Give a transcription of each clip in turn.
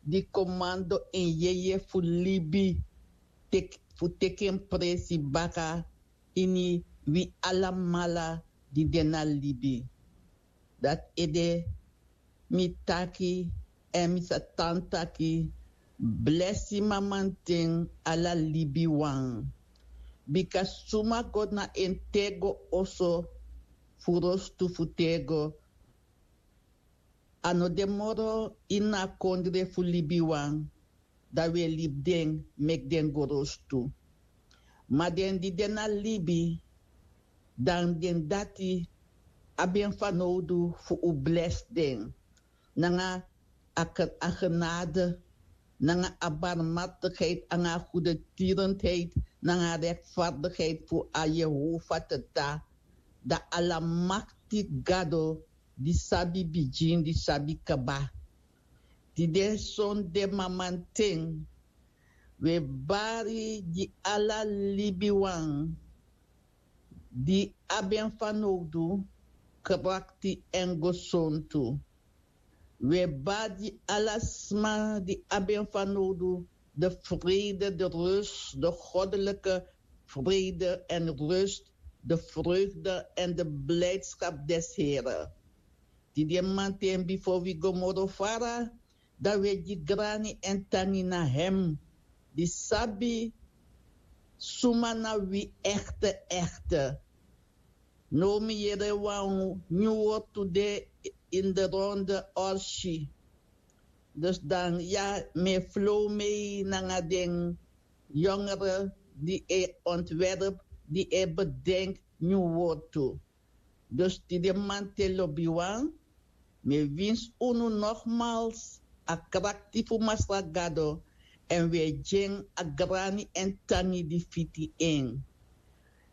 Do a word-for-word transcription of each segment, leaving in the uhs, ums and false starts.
di komando en yeye fu libi, fu teki en presi baka ini wi alamala di de na libi. Dati ede mi taki, èn mi sa tan taki: Blesi mamanten, ala libiwan. Bika suma go na en tego oso fu rostu fu tego, a no de moro ini a kondre fu libiwan, dan wi e libi den meki den go rostu. Ma den di de na libi, dan den dati abi en fanowdu fu un blesi den nanga a genade, nanga a barmhartigheid, nanga a goedertierenheid, nanga a rechtvaardigheid fu a Jehova Tata, da Alamakti Gado, di sabi bigin, di sabi kaba. Tide sonde mamanten, wi e bari gi ala libiwan di abi en fanowdu, krakti èn gesontu. Wi e bari gi ala sma di abi en fanowdu, de vrede, de rust, de goddelijke vrede en rust, de vreugde en de blijdschap des Here. Tide mamanten, bifo wi go moro fara, dan wi e gi grani èn tangi na hem di sabi suma na wi, echte, echte. Now mi yere wan nyun wortu de in de ronde, orsi. Dus dan ya, mi e flow mee nanga den jongere di e ontwerp, di e bedenk nyun wortu. Dus tide mamanten, lobiwan, mi e winsi unu nogmaals a krakti fu Masra Gado, èn wi e gi en a grani èn tangi di fiti en.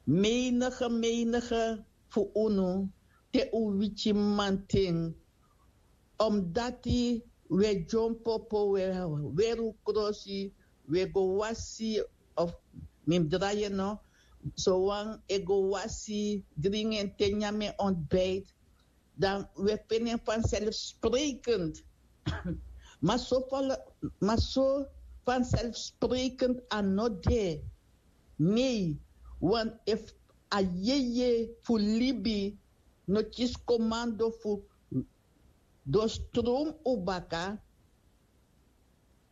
Menige, menige fu unu, te un wiki mamanten, omdati wi e dyompo, wi e weri un krosi, wi e go wasi, of mi mus drai en, no, sowan e go wasi, dringi en te, nyan en ontbijt, dan wi e feni en vanzelfsprekend. Ma so, ma so vanzelfsprekend a no de. Nee, want efu a yeye fu libi no kisi komando fu doorstroom un baka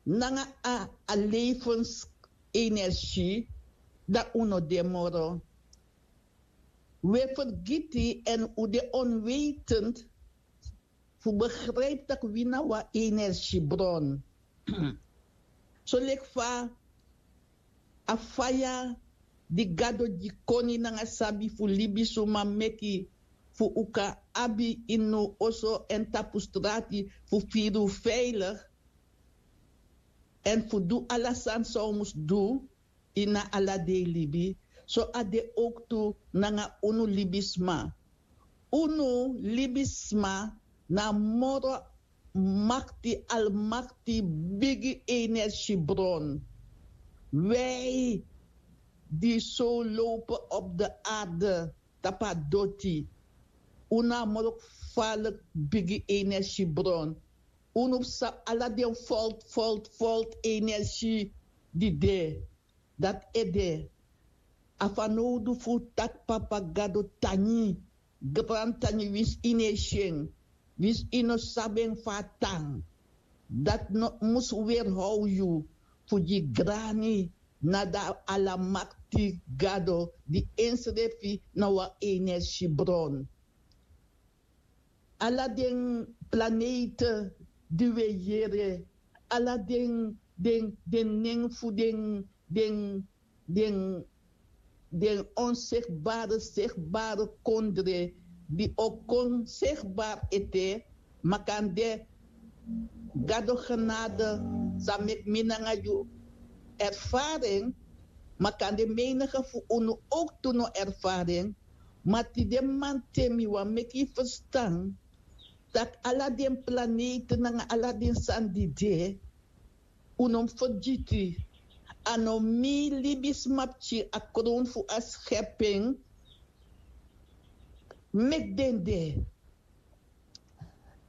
nanga a, a levensenergie, dan un no de moro. Wi e fergiti èn un de onwetend fu begrijpi tak' wi na wan energiebron. Soleki fa a faya di Gado gi koni nanga sabi fu libisuma meki fu un kan abi ini un oso èn tapu strati fu firi un veilig èn fu du ala sani san un mus du ini a ala dei libi, so a de owktu nanga unu libisma. Unu libisma na moro makti, almakti, bigi energiebron. Wij die zo lopen op de aarde, tapu a doti, unu na moro gevaarlijk bigi energiebron. Unu sabi ala den volt, volt, volt energie di de. Dati ede, a fanowdu fu taki Papa Gado tangi, grantangi, winsi yu no e si en, winsi yu no sabi en fa a tan. Dati no mus weerhow yu fu gi grani na a Alamakti Gado di ensrefi na wan energiebron. Ala den planeten di wi e yere, ala den, den, den nen fu den, den, den, den onzichtbare, zichtbare kondre di o kon zichtbaar ete, makandra Gado genade sa meki mi nanga yu ervaren, makandra menige fu unu owktu no ervaren, ma tide mamanten mi wani meki yu ferstan tak' ala den planeten nanga ala den sani di de, un no mus fergiti, a no mi libisma pikin, a krown fu a schepping, meki den de.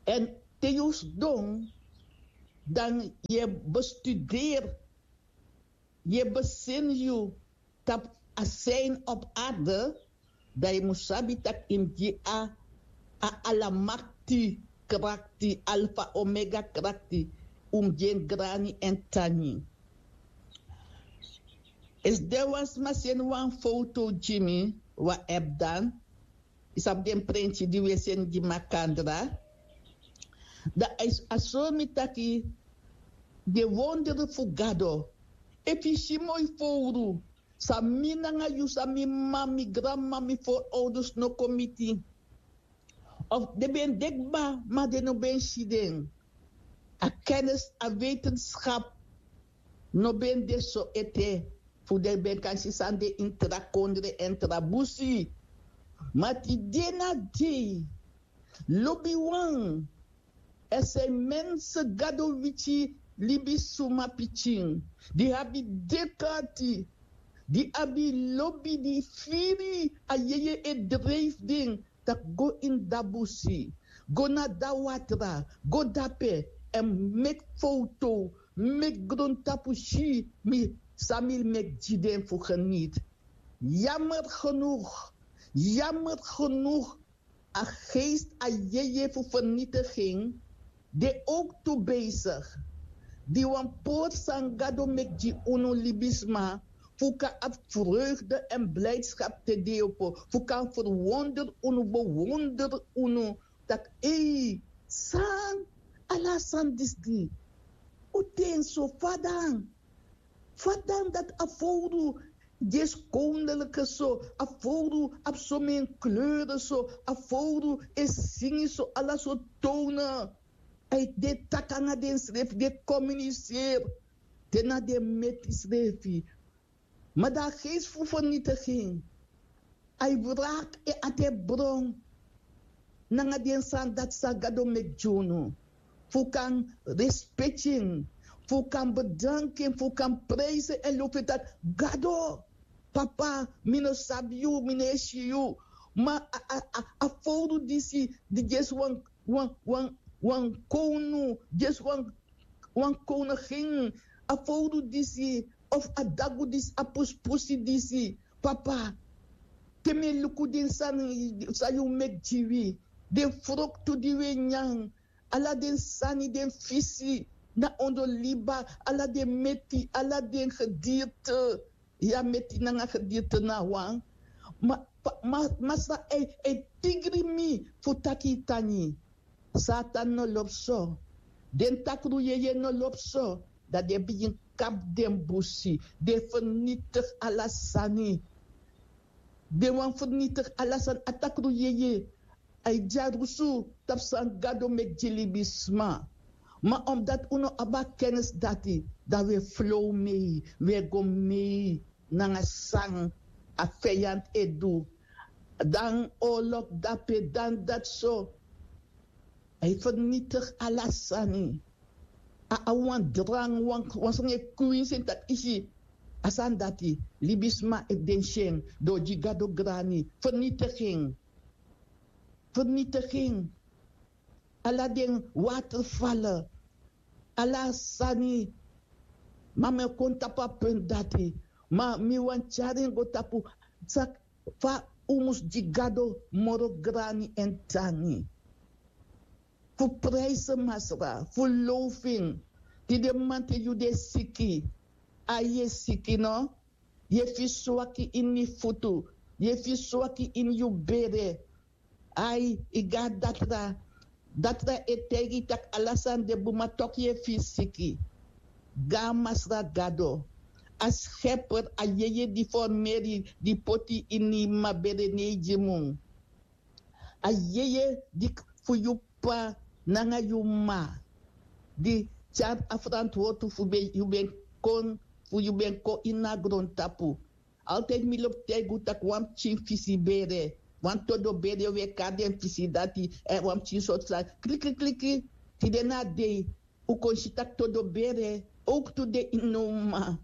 Èn te yu sidon dan yu e bestuderi, yu e besini yu tapu a sign op arde, dan yu mus sabi tak' yu mus gi a a alamakti krakti, alfa omega krakti, un mus gi en grani èn tangi. Esi den wan sma seni wan foto gi mi, wan app dan, yu sabi den prenti di wi e seni gi makandra. Dan a sori mi taki den wondere fu gado, efu yu si moi fowru san mi nanga yu, san mi m'ma, mi granm'ma, mi forouders no kon miti. Of den ben de kba ma den no ben si den. A kennis, a wetenskap no ben de so ete fu den ben kan si san de ini tra kondre èn tra busi. Ma tide na dei lobiwan, èn san e mense gado witi libisuma pikin di abi dek'ati, di abi lobi, di firi a yeye e dreifi den tak' go ini dabusi, go na dawatra, go dape èn meki fowtow, meki grontapu si mi san mi meki gi den fu geniti. Yamer genug, yamer genug. A geest a yeye fu vernitiging de ook tu bezig. Di wan pori san gado meki gi unu libisma fu kan abi vreugde èn blijdskap te deopo, fu kan verwonder unu, bewonder unu, tak' ei, san ala san disi di, un ten so fadan. Fadan dati a fowru di e skondelike so, a fowru abi somen kleuren so, a fowru e singi so ala so tone. A e de taki nanga densrefi, de komuniseri, de na den meti srefi. Ma dan a geest fu vernitiging, a e wraki en ati e bron nanga den sani dati san gado meki gi unu, fu kan respeki en, fu kan bedanki en, fu kan prijsi en èn lobi en taki: Gado, papa, mi no sabi yu, mi no e si yu. Ma a fowru disi di gi esi wan wan wan wan kownu, gi esi wan wan kownu gen, a fowru disi of a dagu disi, a pusipusi disi, papa, te mi e luku den sani san yu meki gi wi, den froktu di wi e nyan, ala den sani, den fisi na ondro liba, ala den meti, ala den gedirte, ya meti nanga gedirte na wan. Ma masra e tigri mi fu taki yu tangi. Satan no lobi so. Den takru yeye no lobi so. Dan den bigin kapu den busi, den fernitigi ala sani. Den wani fernitigi ala sani. A takru yeye a e dyarusu tapu san gado meki gi libisma. Ma omdati un no abi a kennis dati, dan un e flow mei, un e go mei nanga san a feyanti e du. Dan olok dape, dan dati so. A e fernitigi ala sani. A abi wan drangi, wan sani e kwinsi en taki isi a sani dati, libisma e densi en, den o gi gado grani, fernitigi en. Fernitigi en. Ala den watervallen, ala sani. Ma mi o kon tapu a puntu dati. Ma mi wani tyari en go tapu, saki fa un mus gi gado moro grani èn tangi. Fu prijsi masra, fu low fu en. Tide mamanten yu de siki. Ai, yu e siki no? Yu e firi swaki ini yu futu, yu e firi swaki ini yu bere. Ai, yu go na datra. Datra e taigi yu tak' ala sani de bun, ma toku yu e firi siki. Go na Masra Gado, a Skeper, a yeye di formeri, di poti yu ini yu m'ma bere, ne yu gi mun. A yeye di fu yu p'pa nanga yu m'ma, di tyari a ferantwortu fu yu ben kon, fu yu ben kon ini a grontapu. Altide mi lobi taigi un tak' wan pikin fisi bere, wan todo bere, un e kari den fisi dati, èn wan pikin sortu sani, kliki kliki. Tide na dei un kon si tak' todo bere owktu de ini un m'ma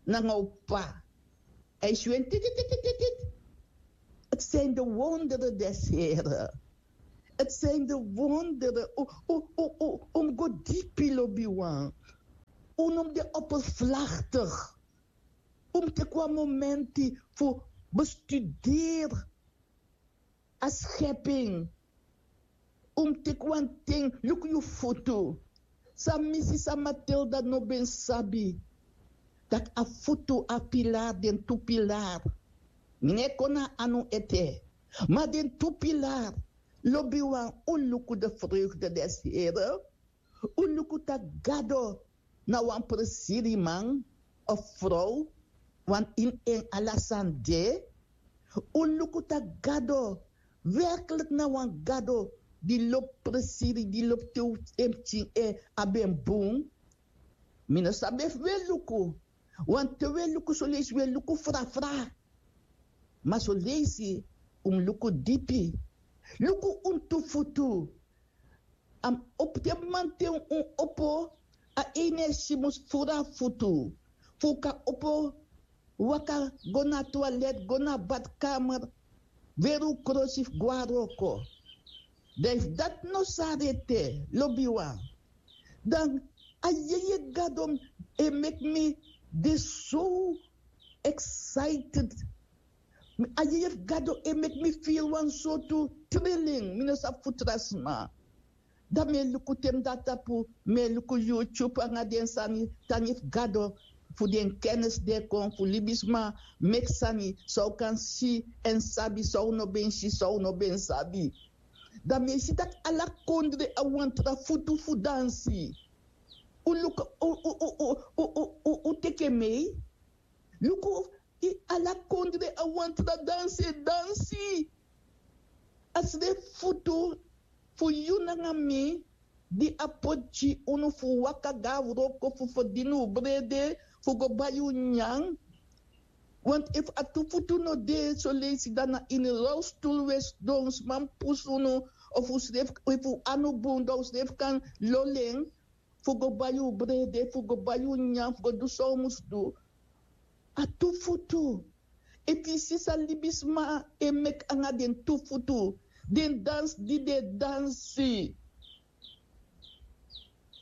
nanga un p'pa. A e si un en tititititi. Het zijn de wonderen des Heren. Het zijn de wonderen. Un mus go dipi, lobiwan. Un no mus de oppervlaktig. Un mus teki wan momenti fu bestuderi a schepping. Un mus teki wan ten, luku yu futu. San mi si san Matilda no ben sabi, dati a futu, a pilar, den tu pilar. Mi no e kon na a anu ete. Ma den tu pilar, lobiwan, un luku de vreugde des Here. Un luku taki Gado na wan presiriman of frow, wan ini en ala sani de. Un luku taki Gado werklik na wan Gado di lobi presiri, di lobi te un en pikin e abi en bun. Mi no sabi efu un e luku. Want te un e luku soleisi, un e luku frafra. Ma soleisi un mus luku dipi. Luku un tu futu. A mus opo, te mamanten un opo, a ini en si mus furu a futu. Fu un kan opo, waka go na toilet, go na badkamer, weri un krosi fu go na wroko. Dan efu dati no sari ete, lobiwan, dan a yeye Gado e meki mi de so excited. A yeye fu Gado e meki mi firi wan sortu trilling, mi no sabi fu tra sma. Dan mi e luku te mi de na tapu, mi e luku YouTube nanga den sani, tangi fu Gado, fu den kennis di e kon, fu libisma meki sani san un kan si èn sabi, san un no ben si, san un no ben sabi. Dan mi e si taki ala kondre a wan tra futu fu dansi. Un luku, un, un, un, un, un, un teki en mee. Luku, ala kondre a wan tra dansi e dansi. A srefi futu fu yu nanga mi, di a poti gi unu fu waka go na wroko fu ferdini un brede, fu go bai un nyan. Want efu a tu futu no de, soleisi dan na ini rolstoel un e sidon, sma mus pusu unu, of un srefi, efu un anu bun dan un srefi kan lolo en fu go bai un brede, fu go bai un nyan, fu go du san un mus du. A tu futu. Efu yu si san libisma e meki nanga den tu futu, den dansi di den e dansi.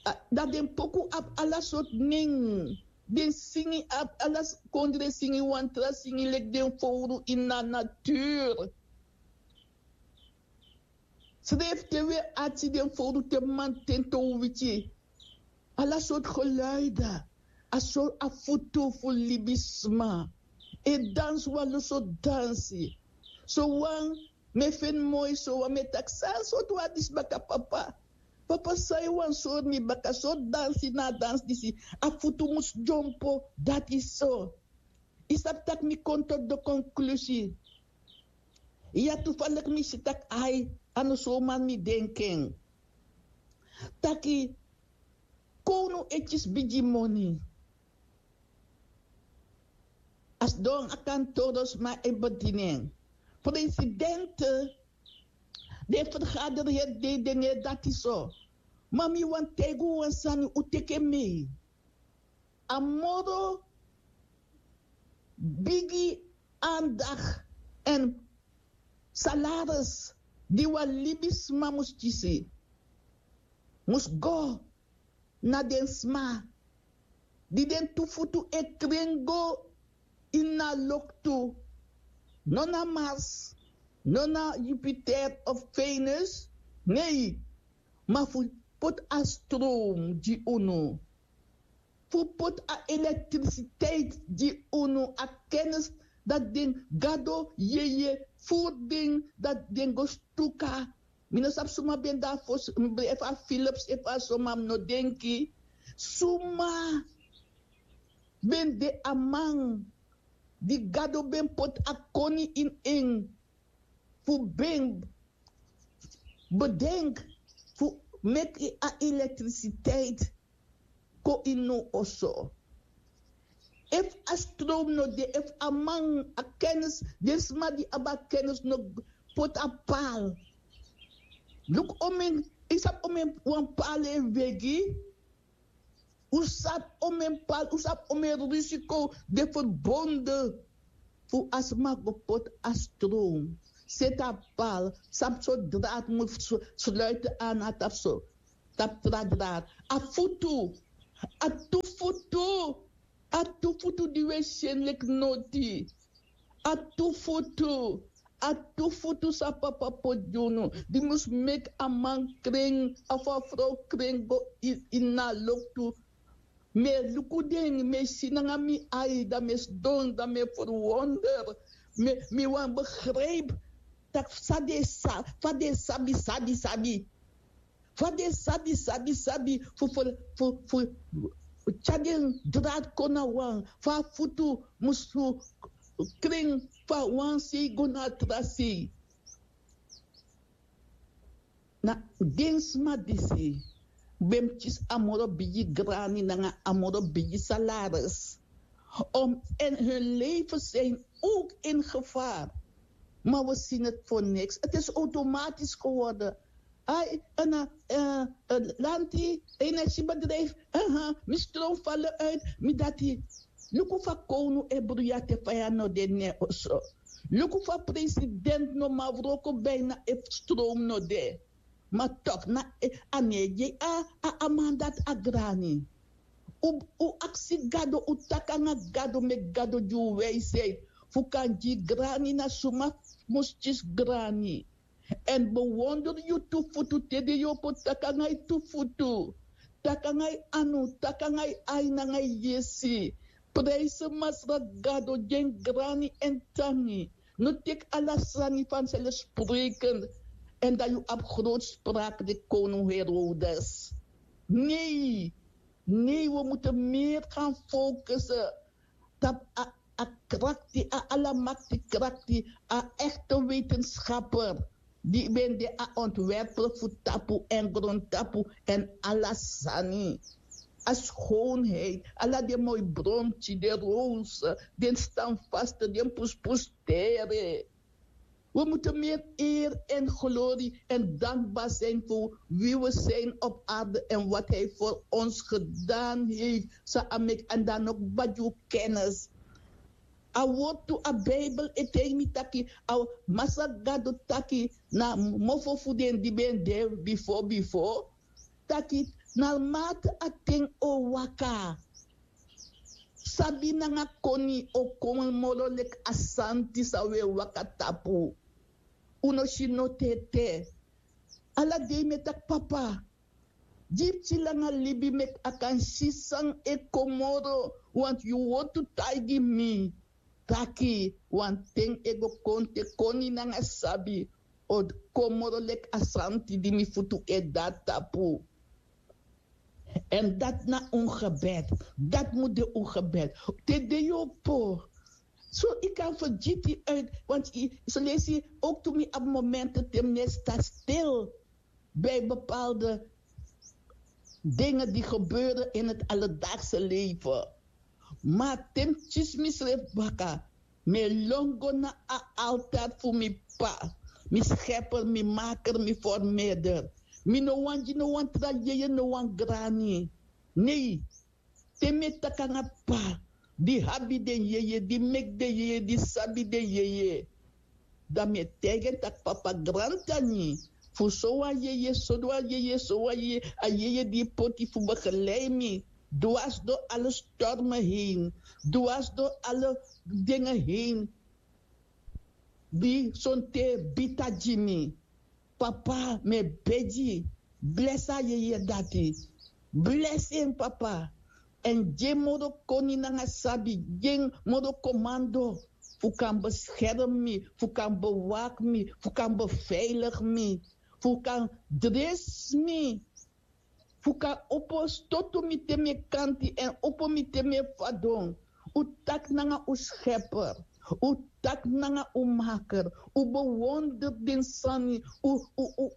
A, dan den poku abi ala sortu nen. Den singi abi ala s-, kondre singi, wan tra singi leki den fowru ini a natuur. Srefi te un e arki den fowru te mamanten te un wiki. Ala sortu geluiden. A so a futu fu libisma e dansi wan lo sortu dansi. Sowan mi e feni moi, sowan mi e taki san sortu wan disi baka, papa. Papa, san yu wani sori mi baka, sortu dansi na a dansi disi. A futu mus dyompo, dati so. Yu sabi taki mi kon tot de konklusi. Ya, toevallig mi si taki ai, a no so man mi denki en. Taki kownu e kisi bigi moni. A sidon a kantoro, sma e bedini en. Presidente, den vergaderi heri dei, den no e dati so. Ma mi wani taigi un wan sani, un teki en mee. A moro bigi aandacht èn salaris di wan libisma mus kisi, mus go na den sma di den tu futu e kren go ini a loktu. No na Mars, no na Jupiter of Venus, nee. Ma fu poti a stroom gi unu. Fu poti a elektrisiteit gi unu, a kennis dati den Gado yeye furu den, dati den go stuka. Mi no sabi suma ben de na fosi, efu a Philips, efu a suma, mi no denki. Suma ben de a man di Gado ben poti a koni ini en fu ben bedenki fu meki a elektrisiteit kon ini un oso. Efu a stroom no de, efu a man, a kennis, den sma di abi a kennis no poti a paal. Luku omeni, yu sabi omeni wan paal e wegi. Un sabi omeni paal, un sabi omeni risiko di e verbonden fu a sma go poti a stroom. seti a pal, sabi so draad mus sluiten an na tapu so, tapu tra draad. A futu, a tu futu, a tu futu di wi e si en leki noti. A tu futu, a tu futu san papa poti gi unu, di mus meki a man kren of a frow kren go ini a loktu. Mi e luku den, mi e si nanga mi ai, dan mi e sidon, dan mi e ferwonder. Mi wani begrijpi tak' fa den sa fa den sabi sabi sabi fa den sabi sabi sabi fu fu fu fu tyari den draad kon na wan fa a futu mus fu kren fu a wan sei go na a tra sei. Na den sma disi ben mus kisi a moro bigi grani nanga a moro bigi salaris. Om en hun leven zijn ook in gevaar. Maar we zien het voor niks. Het is automatisch geworden. Ai, en uh, uh, lanti, energiebedrijf, uh, mi stroom vallen uit, mi dati. Luku fa kownu e bruya te faya no de ne oso. Luku fa president no man wroko bijna e stroom no de. Ma tok na a negi a a man dati a grani. Un aksi gado, un taki nanga gado, meki gado gi un wijsheid fu kan gi grani na suma mus kisi grani. Èn bewonder yu tu futu te den yu o kon taki nanga yu tu futu, taki nanga yu anu, taki nanga yu ai nanga yu yesi. Prijse masra gado, gi en grani èn tangi. No teki ala sani fanselfsprekend. Èn dan yu abi grootspraak de koning herodes. Nei, nei, we moeten meer gaan focussen tapu a krakti, a alamakti krakti, a echte wetenschapper di ben de a ontwerper fu tapu èn grontapu èn ala sani. A schoonheid, ala den moi bromti, den rose, den standvaste, den puspustere. We moeten meer eer en glorie en dankbaar zijn voor wie we zijn op aarde en wat hij voor ons gedaan heeft. Sa amek en dan ook badu kennis. A wortu a Bijbel e taigi mi taki a Masra Gado taki na mofo fu den di ben de bifo bifo. Taki na mate a ten o waka. Sabi nanga koni o kon moro leki a santi san un e waka tapu. Un no si no tete. Ala dei mi e taki papa, gi pikin langa libi meki a kan si san e kon moro. Want yu wortu taigi mi taki wanten e go kon te koni nanga sabi o kon moro leki a santi di mi futu e de na tapu. Èn dati na un gebed. Dati mu de un gebed. Te den yu opo, so yu kan fergiti uit, want yu so lesi ook tu mi abi momenten te mi no e sta stil bij bepaalde dingen die gebeuren in het alledaagse leven. Ma te mi kisi misrefi baka, mi e lon go na a altar fu mi p'pa, mi skeper, mi maker, mi formeerder. Mi no wani gi no wan tra yeye, no wan grani. Nei. Te mi e taki nanga p'pa di abi den yeye, di meki den yeye, di sabi den yeye, dan mi e taigi en taki papa, grantangi fu sowan yeye, sowan yeye, sowan yeye, a yeye di yu poti fu begelei mi dwars dori ala stormen heen, dwars dori ala dingen heen, di sonten bita gi mi. Papa, mi e begi, blesi a yeye dati. Blesi en papa. Èn gi en moro koni nanga sabi, gi en moro komando fu kan beskerm mi, fu kan bewak mi, fu kan beveilig mi, fu kan dres mi, fu kan opo stotu mi te mi e kanti èn opo mi te mi e fadon. Un taki nanga un skeper, un taki nanga un maker, un bewonder den sani, un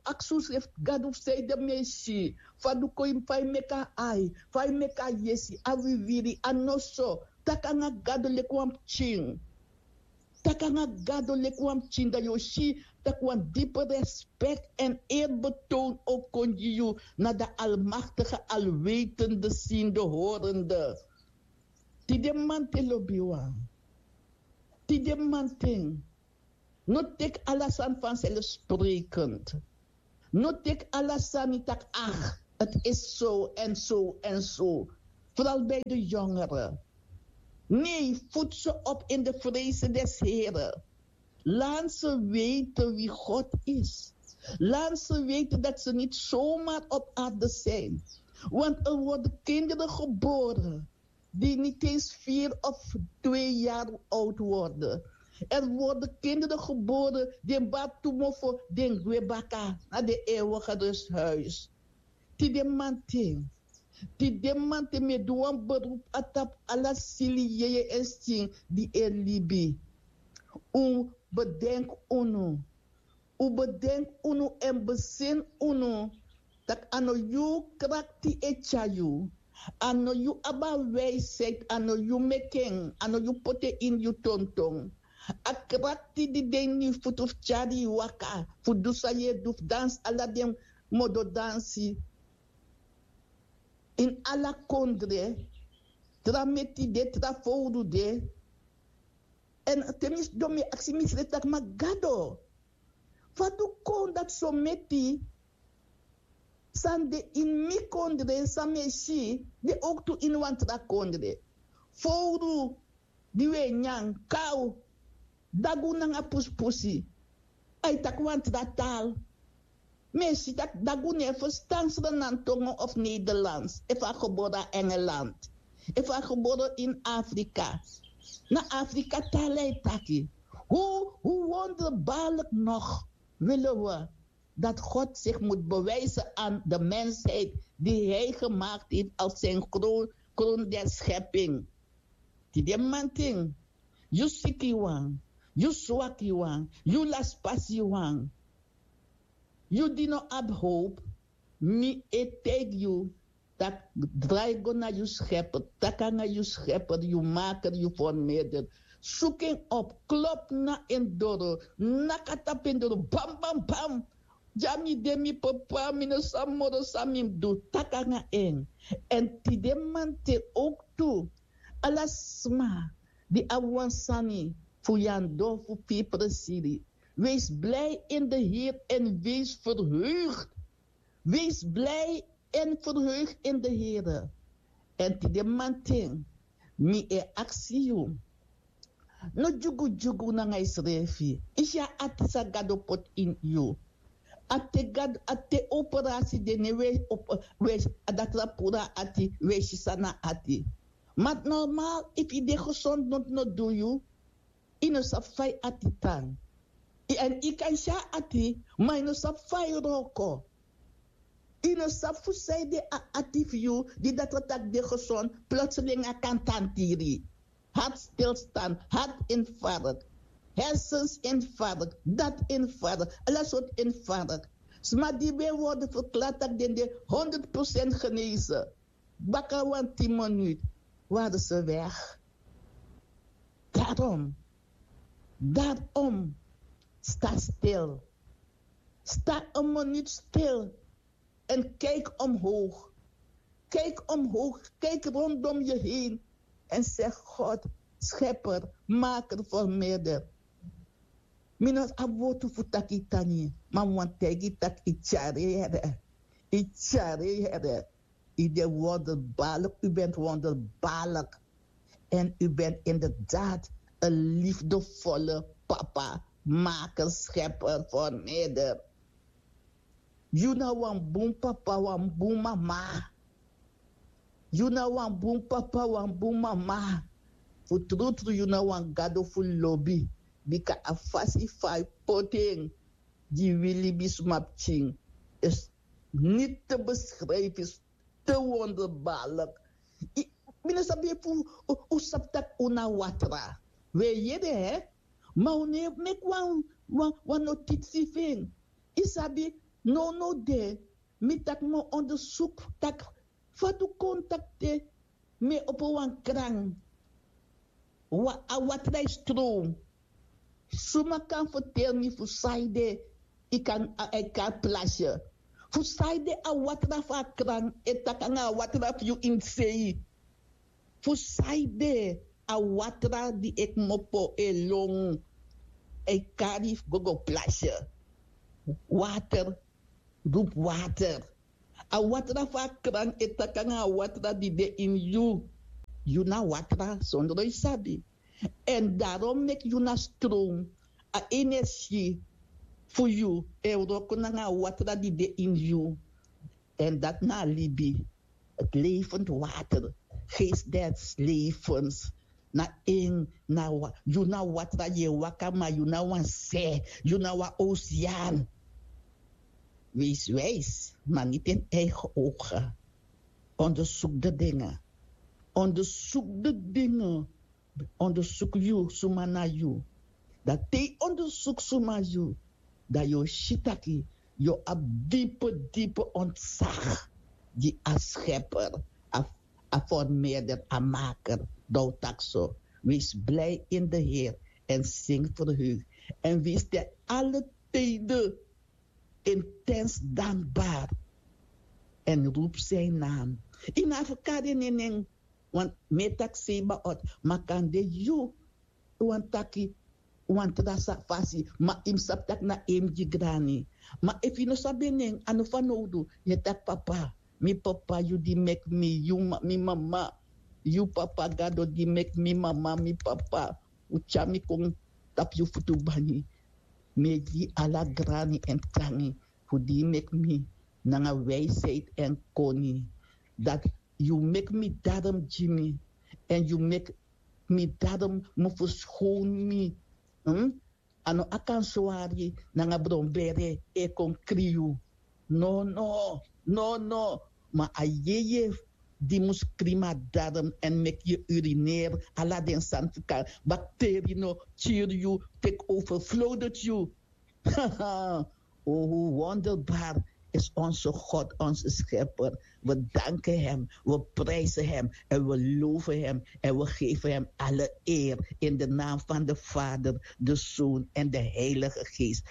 aksi unsrefi, gadu fu san ede mi e si? Fa du kon fa yu meki a ai, fa yu meki a yesi, a wiwiri, a noso? Taki nanga gado leki wan pikin. Taki nanga gado leki wan pikin, dan yu o si tak' wan dipi respek èn eerbetoon o kon gi yu na den almaktige, alwetende, sinde, horende. Tide mamanten, lobiwan, tide mamanten, No teki ala sani vanzelfsprekend. No teki ala sani taki, ach, het is zo en zo en zo. Vooral bij de jongeren. Nee, voed ze op in de vrezen des Heren. Laat ze weten wie God is. Laat ze weten dat ze niet zomaar op aarde zijn. Want er worden kinderen geboren die niet eens vier of twee jaar oud worden. Er worden kinderen geboren die batumo voor den gwebaka naar de eeuwige rusthuis. Tide mantin. Tide mantin mi e du wan beroep a tapu ala sili yeye en skin di e libi. Un bedenk unu. Un bedenk unu en besin unu. Tak' a no yu krakti e tyari yu. A no yu abi a wijsheid, a no yu meki en, a no yu poti en ini yu tonton. A krakti di de ini yu futu fu tyari yu waka, fu du san yu e du, fu dansi ala den modo dansi. Ini ala kondre, tra meti de, tra fowru de. Èn te mi sidon mi e aksi misrefi taki, ma Gado, fa du kon dati so meti san de ini mi kondre, san mi e si, de owktu ini wan tra kondre? Fowru di wi e nyan, kaw, dagu nanga pusipusi. A e taki wan tra taal. Mi e si tak' dagu no e ferstan Sranan tongo of Nederlands efu a gebore na Engeland, efu a gebore ini Afrika. Na Afrika taal a e taki. Hoe, hoe wonderbaarlijk nog willen we dat God zich moet bewijzen aan de mensheid die hij gemaakt heeft als zijn kroon, kroon der schepping. Tide mantin, yu sikiwan, yu swakiwan, yu laspasiwan, yu di no abi howpu, mi e taigi yu tak' drai go na yu Schepper, taki nanga yu Schepper, yu Maker, yu Vormeerder. Suku en op, klop na en doro, naki a tapu en doro, bam, bam, bam. Dya mi de, mi papa, mi no sabi moro san mi mus du, taki nanga en. Èn tide manten owktu, ala sma di abi wan sani fu yandon fu firi presiri, wees blij in de Heer en wees verheugd. Wees blij en verheugd in de Heer. Èn tide manten mi e aksi yu. No dyugudyugu nanga yusrefi. Yu si a ati san Gado poti ini yu. A te Gado, a te operasi de, ne wi e, wi e, a datra puru a ati, wi e si san na ati. Ma normaal, efu yu de gesond, noti no du yu. Yu no sabi fa yu ati tan. Èn yu kan si a ati, ma yu no sabi fa yu wroko. Yu no sabi fu sanede a ati fu yu, di datra taki de gesond, plotseling a kan tantiri. Hartstilstand, hartinfarct, hersensinfarct, datinfarct, ala sortu infarct. Sma di ben worden verklaard taki den de honderd procent genezen, baka wan tin minuut waren ze weg. Daarom, daarom, sta stil. Sta een minuut stil en kijk omhoog. Kijk omhoog, kijk rondom je heen en zeg: God, schepper, maker, vermeerder. Mi no abi wortu fu taki tani, ma mi wani taigi taki yu tyari yu here. Yu tyari yu here. Yu de wonderbaarlijk, u bent wonderbaarlijk. En u bent inderdaad een liefdevolle papa, maker, schepper, vermeerder. Yu na wan bun papa, wan bun mama. Yu na wan bun papa, wan bun mama. Fu trutru yu na wan Gado fu lobi. Bika a fasi fa yu poti en gi wi libisma pikin is niet te beschrijven, is te wonderbaarlijk. Mi no sabi efu un sabi taki un na watra. Wi e yere, hè? Ma un no e meki wan, wan, wan notisi fu en. Yu sabi, nownow de mi taki mi o ondersuku taki fa du kon taki te mi e opo wan kran, a watra e strow. Suma kan ferteri mi fu sanede yu kan, a, a e kari plasye? Fu sanede a watra fu a kran e taki nanga a watra fu yu ini sei? Fu sanede a watra di e kmopo e lon? e kari fu go go plasye. Water, rupu water. A watra fu a kran e taki nanga a watra di de ini yu. Yu na watra sondro yu sabi. Èn darom meki yu na stron, a energi fu yu e wroko nanga a watra di de ini yu. Èn dati na a libi. Het levend water, geest des levens. Na en na wa- yu na watra yu e waka, ma yu na wan se, yu na wan oceaan. Wees wijs, maar niet in eigen ogen. Onderzoek de dingen. Onderzoek de dingen. Onderzoek yu suma na yu. Dan te yu onderzoek suma yu, dan yu o si taki yu o abi dipe dipe ontzag gi a schepper, a, a formeerder, a maker. Dan o taki so: wees blij in de Heer en zing verheugd. En wees te alle tijden intens dankbaar en roep zijn naam. Yu na fu kari en nen, want mi e taki Sebaot, ma kande yu wani taki wan tra sa- fasi, ma yu mus sabi taki na en mus gi grani. Ma efu yu no sabi en nen, a no fanowdu yu e taki: Papa, mi papa, yu di meki mi, yu ma- mi mama, yu papa Gado di meki mi mama, mi papa, un tyari mi kon tapu yu futu banyi. Mi e gi yu ala grani èn tangi fu di yu meki mi nanga wijsheid èn koni. Dati yu meki mi darom gi mi, èn yu meki mi darom mu ferskownu mi. Hmm? A no a kan swari nanga bronbere e kon kri yu. No, no, no, no. Ma a yeye di mus kri mi a darom èn meki yu urineri, ala den sani fu kari, bakteri no kiri yu, teki overflowded yu. O, hoe wonderbaar is onze God, onze Schepper. We danken Hem, we prijzen Hem en we loven Hem en we geven Hem alle eer in de naam van de Vader, de Zoon en de Heilige Geest.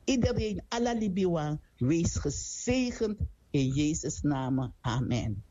Iedereen, ala libiwan, wees gezegend in Jezus' naam. Amen.